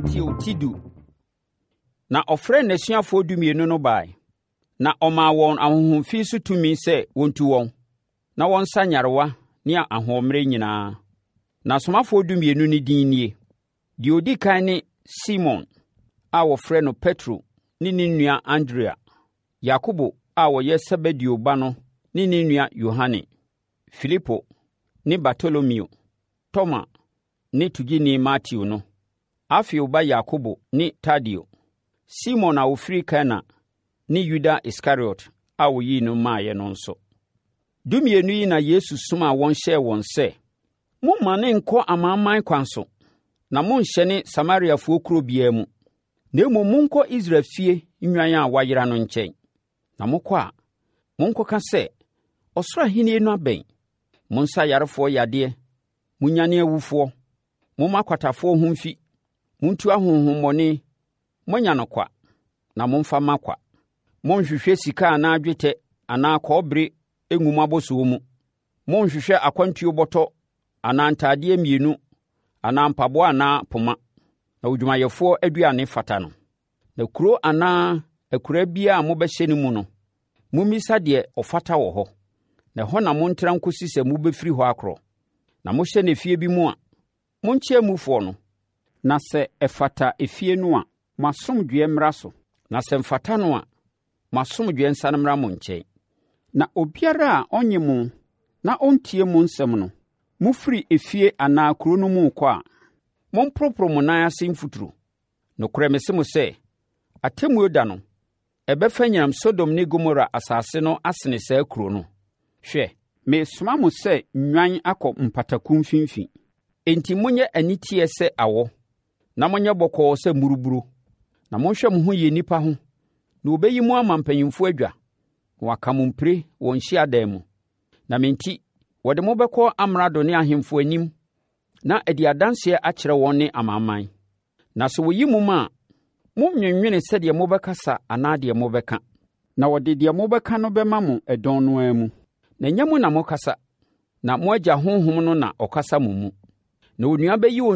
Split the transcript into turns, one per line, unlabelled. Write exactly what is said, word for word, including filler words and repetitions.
Mateo ti du. Na ɔfrɛɛ n'asuafoɔ dumienu no bae, na ɔmaa wɔn ahonhom fi so tumi sɛ wɔntu wɔn, na wɔnsa nyarewa ne ahoɔmmerɛ nyinaa. Na asomafoɔ dumienu no din nie: Deɛ ɔdi kan ne Simon a wɔfrɛ no Petro ne ne nua Andrea, Yakobo a ɔyɛ Sebedeo ba no ne ne nua Yohane, Filipo ne Bartolomeo, Toma ne togyeni Mateo no, Alfeo ba Yakobo ne Tadeo, Simon a ɔfiri Kana ne Yuda Iskariot a ɔyii no maeɛ no nso. Dumienu yi na Yesu somaa wɔn hyɛɛ wɔn sɛ, Mommmane nnkɔ amanaman kwan so, na monnhyɛne Samariafoɔ kuro biara mu, na mmom monkɔ Israel fie nnwan a wɔayera no nkyɛn. Na mokɔ a, monkɔka sɛ, Ɔsoro Ahennie no abɛn. Monsa ayarefoɔ yadeɛ, monnyane awufoɔ, momma akwatafoɔ ho mfi, montu ahonhommɔne. Moanya no kwa, na momfa mma kwa. Monnhwehwɛ sika anaa dwetɛ anaa kɔbere ngu mo abɔsoɔ mu. Monnhwehwɛ akwantuo bɔtɔ anaa ntadeɛ mmienu anaa mpaboa anaa poma, na odwumayɛfoɔ aduane fata no. Na kuro anaa akuraa biara a mobɛhyɛne mu no, mommisa deɛ ɔfata wɔ hɔ, na ɛhɔ na montena nkɔsi sɛ mobɛfiri hɔ akorɔ. Na mohyɛne efie bi mu a, monkyea mufoɔ no. Na sɛ ɛfata efie no a, mo asomdwoeɛ mmra so. Na sɛ ɛmfata no a, mo asomdwoeɛ nsane mmra mo nkyɛn. Na obiara a ɔnnye mo na ɔntie mo nsɛm no, mofiri efie anaa kuro no mu rekɔ a, momporoporo mo nan ase mfuturo. Nokorɛ mese mo sɛ, Atemmuo da no, ɛbɛfa nyinam Sodom ne Gomora asase no asene saa kuro no. Hwɛ, meresoma mo sɛ nnwan akɔ mpataku mfimfini. Enti monyɛ aniteɛ sɛ awɔ, na monyɛ bɔkɔɔ sɛ mmuruburo. Na monhwɛ mo ho yie nnipa ho, na wɔbɛyi mo ama mpanimfoɔ adwa, na wɔaka mo mpire wɔn hyiadan mu. Na me nti, wɔde mo bɛkɔ amrado ne ahemfo anim na adi adanseɛ akyerɛ wɔn ne amanaman. Na sɛ wɔyi mo ma a, monnnwennwene sɛdeɛ mobɛkasa anaa deɛ mobɛka. Na wɔde deɛ mobɛka no bɛma mo ɛdɔn no ara mu. Na ɛnyɛ mo na mokasa, na mo Agya Honhom no na ɔkasa mo mu. Na onua bɛyi